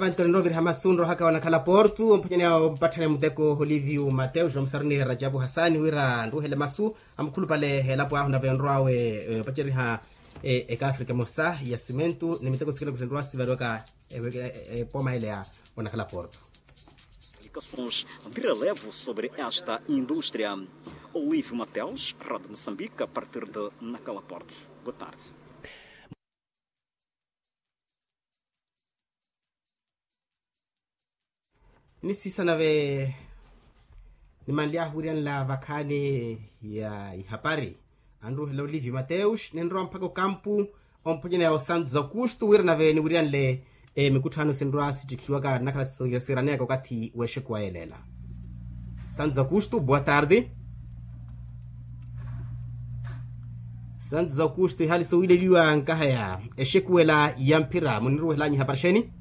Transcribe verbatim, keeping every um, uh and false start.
Antonio nrooviriha masu nrohaka onakhala portu ompwenyani awo mpatthani muteko olivio mateus omusaruni rajabu hasani wira nruhele masu. Amukhulupale elapo ahu nave onrwawe opaceriha ekaafrika emosa ya simentu ni miteko sikiloko sinrwa sivariwaka epoma ele ya onakhala portu. Explicações de relevo sobre esta indústria. Olívio Mateus, Rádio Moçambique, a partir de Nacala Porto. Boa tarde. Nisiisa nave nimanly'ahu wiriyanla vakhaani ya ihapari anruhela olivio mateus ninrowa mpakha okampu. Omphwanyani ya osantos aukustu wira nave niwiriyanle emikutthaano sinrwa sittikhiwaka nnakhala siraneyaka okathi w'exekuwa yelela. Santos aukustu boa tarde. Santos aukustu ihali sowiileliwa nkahaya exekuwela ya mphira muniruwelanyi hapari xeeni?